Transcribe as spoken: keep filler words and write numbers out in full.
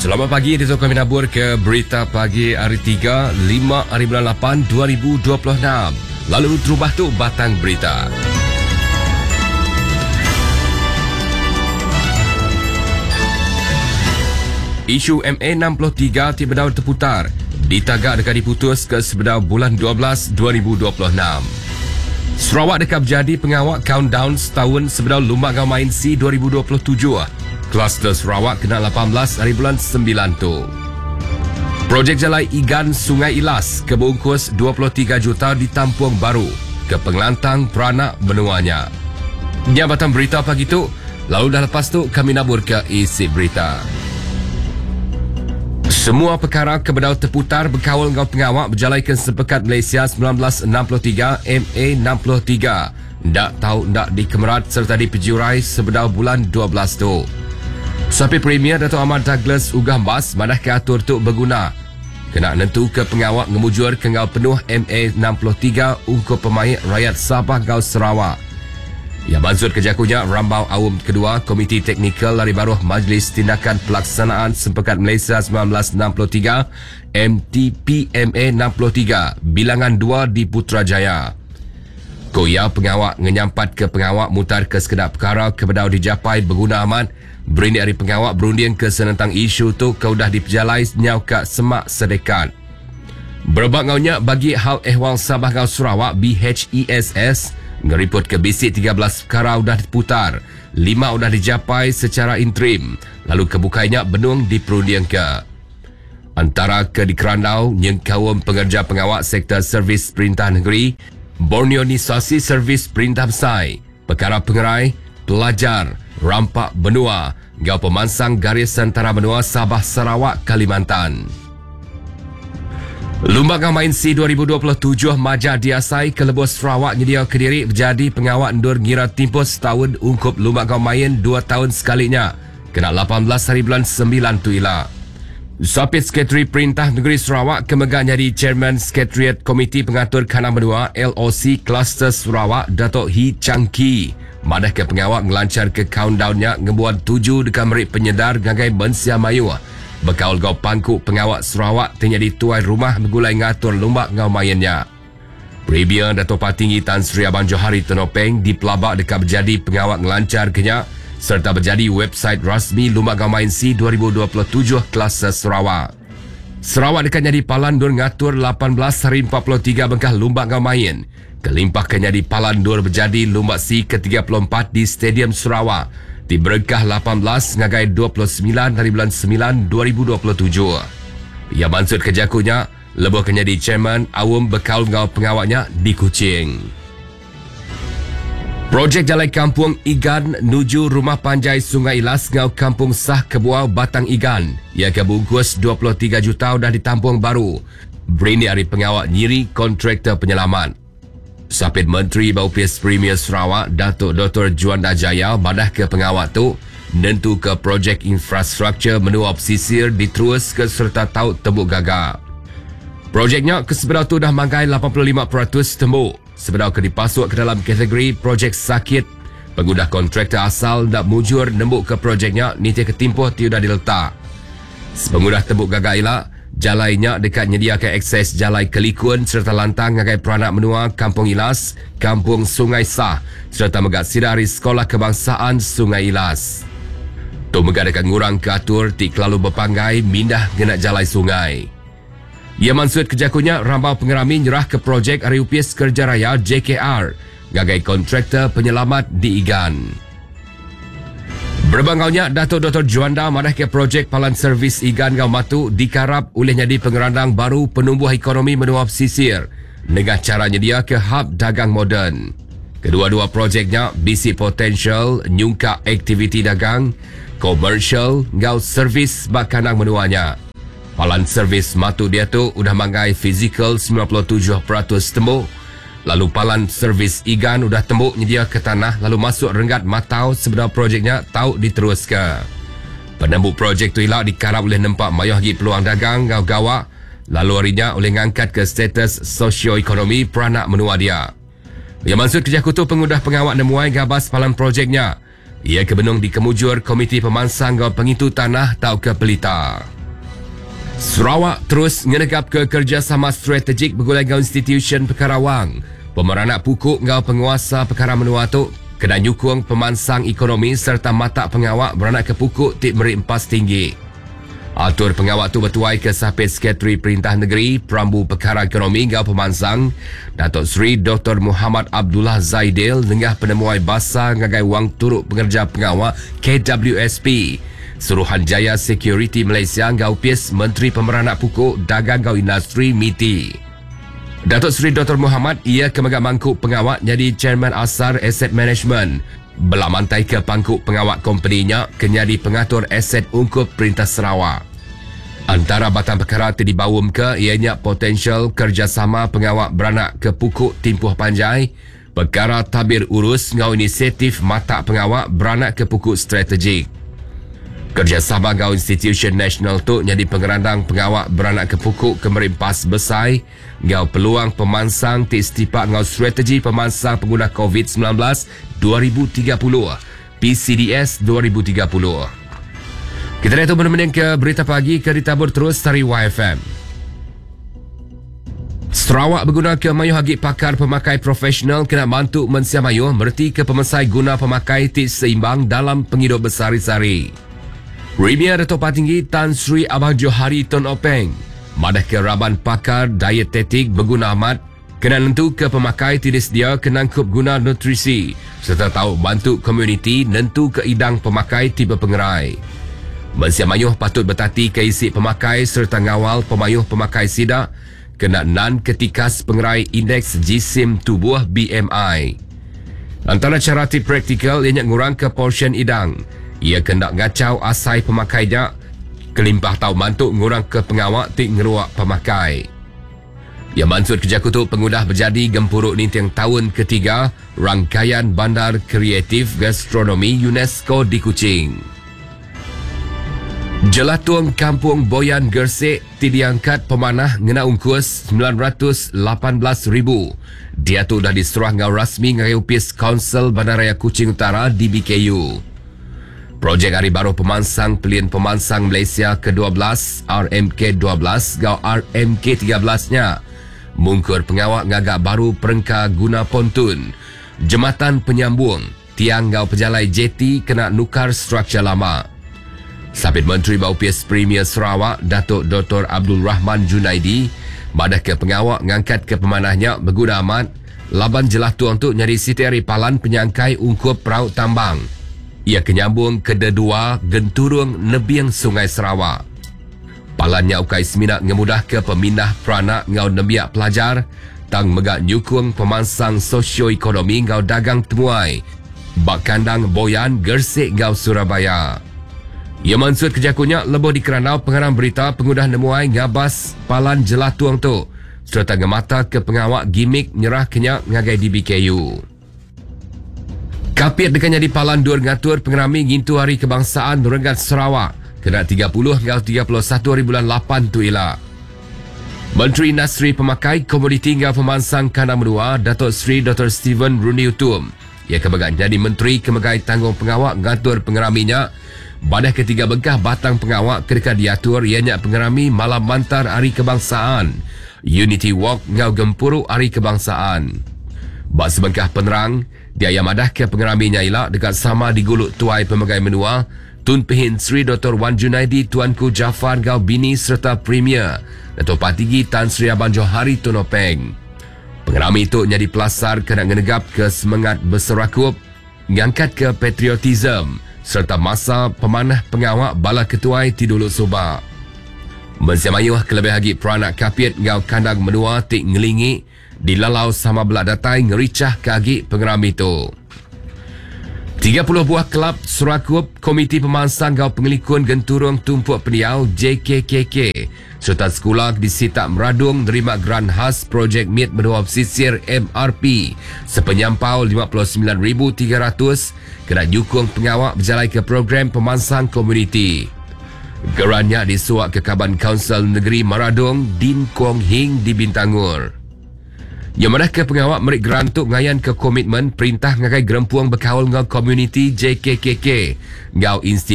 Selamat pagi, di kami nabur ke berita pagi hari tiga, lima hari bulan lapan, dua ribu dua puluh enam. Lalu terubah tu batang berita. Isu M A enam puluh tiga ti bedau terputar ditagak dekat diputus ke sebedau bulan dua belas dua ribu dua puluh enam. Sarawak dekat berjadi pengawak countdown setahun sebedau Lumba Ngau Main C dua ribu dua puluh tujuh. Kluster Sarawak kena lapan belas hari bulan sembilan tu. Projek Jalai Igan Sungai Ilas kebungkus dua puluh tiga juta ditampung baru ke pengelantang peranak menuanya. Jabatan berita pagi tu, lalu dah lepas tu kami nabur ke isi berita. Semua perkara kebedau terputar berkawal ngau pengawak berjalai ke Sepekat Malaysia sembilan belas enam puluh tiga M A enam puluh tiga. Ndak tahu ndak dikemerat serta dipejurai sebedau bulan dua belas tu. Sapi Premier Dato' Ahmad Douglas Uggah Embas madah ke atur tu berguna. Kena nentu ke pengawak ngemujur ke ngau penuh M A enam puluh tiga ungkup pemaik rakyat Sabah ngau Sarawak. Ia maksud kejakunya Rambau Awam Kedua Komiti Teknikal Lari Baruh Majlis Tindakan Pelaksanaan Sempekat Malaysia sembilan belas enam puluh tiga M T P M A enam puluh tiga bilangan dua di Putrajaya. Koya pengawak ngenyampat ke pengawak mutar ke sekedar perkara kebedau dijapai berguna amat. Berindik hari pengawak berunding ke senentang isu tu ke udah dipejalai nyau ka semak sedekat. Berebak ngaunya bagi hal ehwal Sabah ngau Sarawak B H E S S ngeriput ke bisik tiga belas perkara udah diputar, lima udah dijapai secara interim, lalu kebukainya benung diperunding ke. Antara ke dikerandau nyengkaum pengerja pengawak sektor servis perintah negeri, Borneonisasi Servis Perintah Besai, Perkara Pengerai, Pelajar, Rampak Benua, Gau Pemansang Garis Antara Benua Sabah Sarawak Kalimantan. Lumba Ngau Main C dua ribu dua puluh tujuh Majak Diasai ke Lebus Sarawak nyedia kediri berjadi pengawak endur ngira timpus setahun ungkup Lumba Ngau Main dua tahun sekalinya. Kena lapan belas hari bulan sembilan tu ila. Sapit Sekretari Perintah Negeri Sarawak kemegang jadi Chairman Sekretariat Komiti Pengatur Kanang Benua L O C Kluster Sarawak Datuk Hii Chang Kee. Madah ke pengawak ngelancar ke countdownnya ngebuat tuju dekat merik penyedar gagai mensia mayu. Bekaul gau pangku pengawak Sarawak terjadi tuai rumah bergulai ngatur lumba ngau mainnya. Premier Dato' Patinggi Tan Sri Abang Johari Tun Openg dipelabak dekat berjadi pengawak ngelancar kenyak serta berjadi website rasmi Lumba Ngau Main C dua ribu dua puluh tujuh Kluster Sarawak. Sarawak dekat jadi palan dur ngatur lapan belas hari empat puluh tiga bengkah Lumba Ngau Main. Kelimpah kena di palan dur berjadi Lumba C ke tiga puluh empat di Stadium Sarawak. Di berkah lapan belas ngagai dua puluh sembilan hari bulan sembilan dua ribu dua puluh tujuh. Ia maksud kejakunya, lebuh kena di chairman awam bekal ngau pengawaknya di Kuching. Projek Jalai Kampung Igan nuju Rumah Panjai Sungai Ilas ngau Kampung Sah Kebuau Batang Igan. Ia kebungkus dua puluh tiga juta dah ditampung baru. Berini hari pengawak nyiri kontraktor penyelamat. Sapit Menteri Baupis Premier Sarawak Datuk Doktor Juanda Jaya madah ke pengawak tu nentu ke projek infrastruktur menua pesisir diterus ke serta taut tembuk gagak. Projeknya ke sebenar tu dah manggai lapan puluh lima peratus tembuk. Sebenar ke dipasuk ke dalam kategori projek sakit. Pengudah kontraktor asal nak mujur nembuk ke projeknya niti ke timpuh ti dah diletak. Sepengudah tembuk gagak ilak, jalainya dekat menyediakan akses jalai kelikun serta lantang ngagai peranak menua Kampung Ilas, Kampung Sungai Sah serta megak sidari Sekolah Kebangsaan Sungai Ilas. Tu megak dekat ngurang ke atur ti kelalu berpanggai mindah ngena jalai sungai. Ia maksud kejakunya rambau pengerami nyerah ke projek Ariupis Kerja Raya J K R gagai kontraktor penyelamat di Igan. Berbangaunya Datuk Doktor Juanda madah ke projek Palan Servis Igan Ngau Matu dikarap oleh nyadi pengerandang baru penumbuh ekonomi menua pesisir dengan caranya dia ke hub dagang moden. Kedua-dua projeknya bisi potensial nyungkak aktiviti dagang, komersial ngau servis bakanang menuanya. Palan servis matu dia tu udah manggai fizikal sembilan puluh tujuh peratus tembuk. Lalu palan servis Igan udah tembuk nyedia ke tanah lalu masuk renggat matau sebenar projeknya tau diteruskan. Penembuk projek tu ilak dikarap oleh nempak mayuh lagi peluang dagang ngau gawak lalu harinya oleh ngangkat ke status sosioekonomi peranak menua dia. Yang maksud kerja kutu pengudah pengawak nemuai gabas palan projeknya. Ia kebenung dikemujur Komiti Pemansang Gau Pengitu Tanah tau ke Pelita. Sarawak terus ngenegap ke kerjasama strategik bergulai ngau institusi Pekarawang. Pemeranak pukuk ngau penguasa perkara menua tu kena nyukung pemansang ekonomi serta mata pengawak beranak ke pukuk ti meri empas tinggi. Atur pengawak tu bertuai ke Sapit Sekretari Perintah Negeri Perambu Perkara Ekonomi ngau Pemansang Datuk Seri Doktor Muhammad Abdullah Zaidel nengah penemuai basa ngagai wang turuk pengerja pengawak K W S P Suruhanjaya Security Malaysia ngau P I S Menteri Pemeranak Pukuk Dagang ngau Industri M I T I. Datuk Seri Doktor Muhammad ia kemegak mangkuk pengawak jadi Chairman Asar Asset Management. Belamantai ke pangkuk pengawak kompeninya kenyadi pengatur aset ungkup Perintah Sarawak. Antara batang perkara ti dibaum ke ianya potensial kerjasama pengawak beranak ke pukuk timpuh panjai, perkara tabir urus ngau inisiatif mata pengawak beranak ke pukuk strategik. Kerjasama ngau institusi nasional tu jadi pengerandang pengawak beranak ke pukuk kemerimpas besai ngau peluang pemansang ti setipak ngau strategi pemansang pengguna COVID sembilan belas dua ribu tiga puluh, P C D S dua ribu tiga puluh. Kita lihat tu benar-benar ke berita pagi ke ditabur terus dari Y F M. Sarawak berguna ke mayuh agi pakar pemakai profesional kena bantu mensia mayuh merti ke pemesai guna pemakai ti seimbang dalam penghidup besari-sari. Premier Datuk Patinggi Tan Sri Abang Johari Tun Openg madah ke raban pakar dietetik berguna amat kena nentu ke pemakai tidak sedia kenangkup guna nutrisi serta tahu bantu komuniti nentu ke idang pemakai tiba pengerai. Mensia mayuh patut bertati ke isi pemakai serta ngawal pemayuh pemakai sidak kena nan ketikas pengerai indeks jisim tubuh B M I. Antara cara ti praktikal ianya ngurang ke portion idang. Ia kena ngacau asai pemakai nya kelimpah tau mantuk ngurang ke pengawak ti ngeruak pemakai. Ia mansut kerja kutuk pengudah berjadi gempuruk nintiang tahun ketiga rangkaian Bandar Kreatif Gastronomi UNESCO di Kuching. Jelatung Kampung Boyan Gersik ti diangkat pemanah ngena ungkus sembilan ratus lapan belas ribu. Dia tu dah diserah ngau rasmi ngagai Upis Kaunsil Bandaraya Kuching Utara D B K U. Projek Hari Baru Pemansang Pelian Pemansang Malaysia ke dua belas, R M K dua belas gau R M K tiga belas-nya. Mungkur pengawak ngagak baru perengka guna pontun. Jematan penyambung, tiang gau pejalai J T kena nukar struktur lama. Sabit Menteri Baupis Premier Sarawak, Datuk Doktor Abdul Rahman Junaidi, madah ke pengawak ngangkat ke pemanahnya berguna amat, laban jelah tuang tu nyari siti hari palan penyangkai ungkup perahu tambang. Ia kenyambung ke dedua genturung nebiang Sungai Sarawak. Palannya ukai semina ngemudah ke pemindah peranak ngau nembiak pelajar, tang megak nyukung pemansang sosioekonomi ngau dagang temuai, bak kandang Boyan Gersik ngau Surabaya. Ia mansut kejakunya lebuh di keranau pengarang berita pengudah nemuai ngabas palan jelah tuang tu serta ngemata ke pengawak gimik nyerah kenyak ngagai D B K U. Kapit dekat jadi palan dur ngatur pengerami ngintu Hari Kebangsaan Renggat Sarawak kena tiga puluh hingga tiga puluh satu hari bulan lapan tu ila. Menteri Industri Pemakai Komoditi hingga Pemansang Kandang Menua Datuk Seri Doktor Stephen Rundi Utom ia kemegat jadi Menteri Kemegai Tanggung Pengawak ngatur pengeraminya. Badah ketiga bengkah batang pengawak ketika diatur ianya pengerami Malam Mantar Hari Kebangsaan, Unity Walk ngau Gempuru Hari Kebangsaan. Bak sebengkah penerang, dia yang madah ke pengeraminya ila dekat sama diguluk tuai pemegai menua, Tun Pehin Sri Doktor Wan Junaidi Tuanku Jaafar Gau Bini serta Premier Datuk Patinggi Tan Sri Abang Johari Tun Openg. Pengerami itu jadi pelasar kena ngenegap ke semangat berserakup, ngangkat ke patriotism serta masa pemanah pengawak bala ketuai tiduluk subak. Mensia mayuh kelebih lagi peranak kapit ngau kandang menua tik ngelingi dilalau sama belak datai ngericah kagi pengerami tu. tiga puluh buah kelab serakup Komiti Pemansang Gau Pengelikun Genturung Tumpuk Pendiau J K K K serta sekolah di Sitak Meradung nerima geran khas projek M I T Menua Pesisir M R P sepenyampau lima puluh sembilan ribu tiga ratus kena nyukung pengawak berjalan ke program pemansang komuniti. Gerannya disuak ke Kaban Kaunsil Negeri Maradung Din Kwong Hing di Bintangur. Yang mana ke pengawak merik gerantuk ngayan ke komitmen perintah ngagai gerempuang berkaul ngau komuniti J K K K ngau institusi